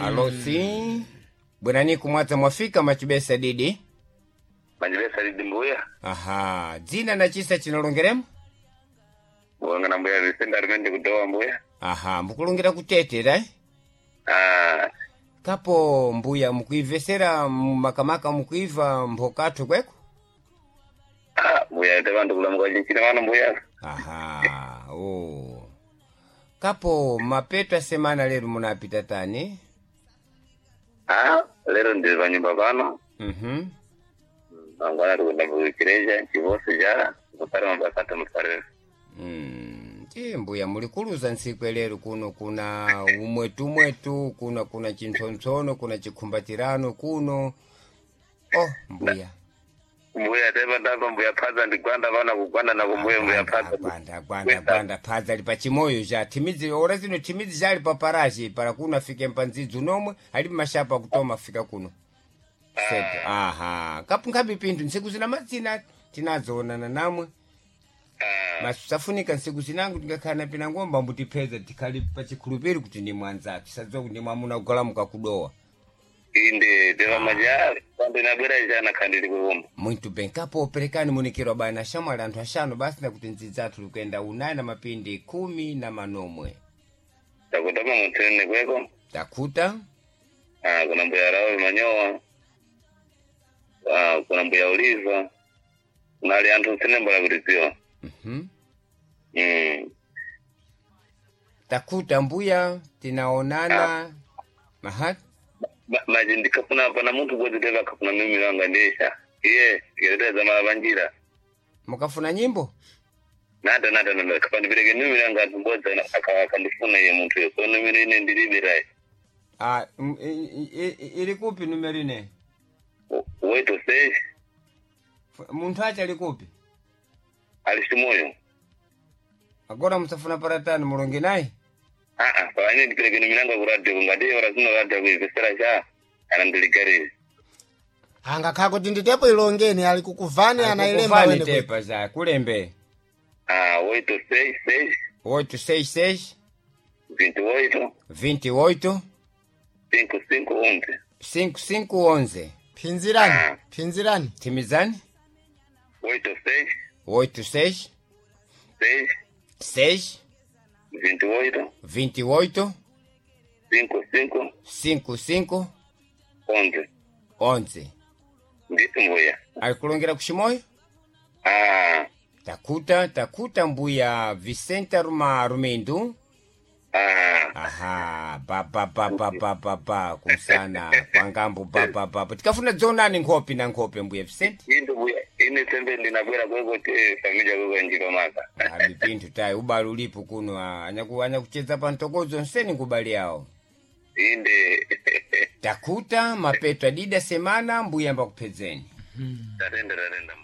Alo, si bwerani kumwadza mwafika machibesa didi. Machibesa didi mbuya. Aha, dzina na chisa chinalongeremo? Wangana mbuya Vicente Armende kudowa mbuya. Aha, mukulongera kutetera eh? Ah, Kapo mbuya mukuivesera makamaka mukuiva mphokathu kweko? ah, mbuya ite vantu kulamuka chinchina vano mbuya. Aha, oh. Kapo mapeto a semana lero munapita tani? Ah, lero ndiri panyumba pano. Mhm. Mangwana tikuenda kuchireja chivosi cha kupara mabasa atomufarira. Ti mbuya mulikuluza ntsiku lero kuno kuna umwetumwetu kuna kuna chintsontsono kuna chikhumbatirano kuno. Oh, mbuya. Mbuya tepa ndapa mbuya phadza ndigwanda vana kugwanda nako mbuya mbuya phadza. Gwanda gwanda gwanda phadza li pachimoyo cha thimidzi ora zino thimidzi chali paparachi para kuno afike mpandzidzi unomwe ali mashapa kutoma afika kuno. Sepo. Aha, kapu nkhabe pinthu ntsiku zina madzina tinazoonana namwe. Ah, Masafunika ntsiku zinango tingakhala na pinangomba mbutipheza tikhali pachikhulupiriro kuti ndi mwanzathu sadziwa kuti ndi mwamuna kugalamuka kudowa. inde tepa maja pando inabwera chana khandili kukumba. Muito bem, kapo perekani munikiro bana shamwali anthu axano basi nakuti ndzidzi athu likuyenda unayi na mapindi khumi na manomwe. Takutama mutsene kweko. Takhuta. Ah, kuna mbuya Raul Manyowa. Ah, kuna mbuya Uliva. Kunali anthu tsene mbala kuti dziwa. Mhm. Mm. Takhuta mbuya tinaonana. Aha. Maji ndikafuna pana munthu kodzi teva akafuna mimi wanga ndesha. Iye ndikateza mala panjira. Mukafuna nyimbo? Nata nata nata kapandipereke mimi wanga anthu mbodzi akandifuna iye munthu yo. So numero ine ndilibe rai. Ah, ili kupi numero ine? Weto sei Munthu acha ali kupi? ali chimoyo. Agora musafuna paratani mulonge naye? Ah ah, pa ine ndipereke numero yanga ku radio ngati ora zino radio kuivesera cha anandiligarire. Angakhala kuti nditepo ilongeni ali kukuvani anailemba Akukuvani wene kwe. tepa za kulembe. Ah, 866 866 28 28 55 11. 5511. Phinzirani, phinzirani. Timizani? 86 86 6 6 28 28 55 55 11. 11. Ndithu mbuya. Alikulongera kuchimoyo? Ah, Takuta, takuta mbuya Vicente Ruma Rumindu. ah, Aha, ba ba ba ba ba ba ba kumsana kwangambo ba ba ba. ba. Tikafuna dzonani nkhope na nkhope mbuya Vicente. inde mbuya ine sembe ndinabwera kweko te familia kweko njiro maka. Ah, mipinthu tayi ubali ulipo kuno ah, anyakucheza pa mtokozo nseni ngubali yawo. Inde. Takuta mapeto adida semana mbuya mbakuphedzeni. Tatenda tatenda.